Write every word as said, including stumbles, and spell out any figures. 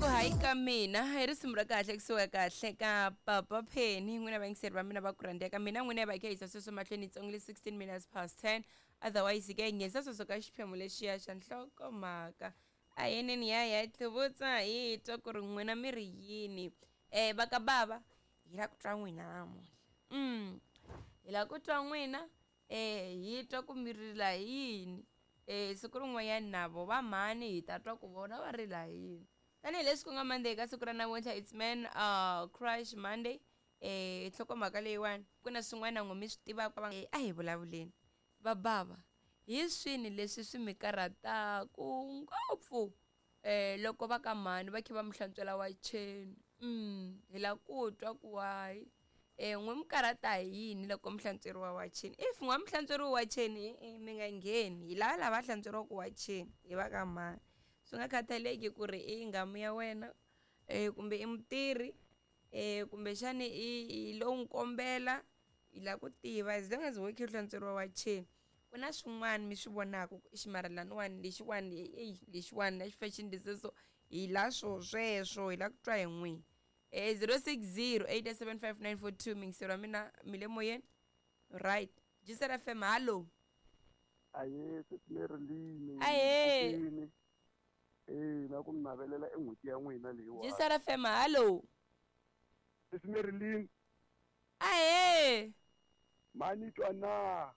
ku hayi ka mina i risimu ra kahle kusuka kahle ka papa Penny. N'wina vayingiseri va mina va ku rhandzeka mina, n'wina va kha yisa sweswo mahlweni yitsongo le sixteen minutes past ten. Otherwise ke hi nghenisa sweswo ka xiphemu lexiya xa nhlokomhaka. A yeneni ya ya tlhuvutsa hi twa ku ri n'wina mi ri yini. um va ka bava, hi lava ku twa n'wina namuntlha. mm hi lava ku twa n'wina, um hi twa ku mi rila hi yini. um siku rin'wanyana na vo va mhani hi ta twa ku vona va rila hi yini. Tanihileswi ku nga Monday, ka siku ra namuntlha it's Man uh, Crush Monday. um nhlokomhaka leyiwani ku na swin'wana n'we mi swi tivaka, a hi vulavuleni. Va bava, hi swini leswi swi mi karhataku ngopfu um loko va ka mhani va kha va mi hlantswela wacheni? mm hi lava ku twa ku wayi um n'we mi karhata hi yini loko mi hlantsweriwa wacheni. If n'wa mi hlantsweriwa wacheni, e mi nga ngheni. Hi lava lava hlantsweriwaka wacheni hi va ka mhani, swi nga khathaleki ku ri i nghamu ya wena um kumbe i mutirhi um kumbexani i i lo n'wi kombela. Hi lava ku tiva, as long as wo khe u hlantsweriwa wacheni, ku na swin'wana mi swi vonaka ku ximara laniwani lexiwani, eyi lexiwani na xi so hi la swo sweswo. Hi lava ku twa hi n'wina. um zero six zero eight seven five nine four two. Mingiseri wa mina, mi le moyeni, right? Gisela F M, hallo. Aye, sesi. Ahee. Eh, na ku mi navelela e n'hweti ya n'wina leyiwani. Gisela F M, hallo. Sesi Marilyn. Ahee. Mani twa na?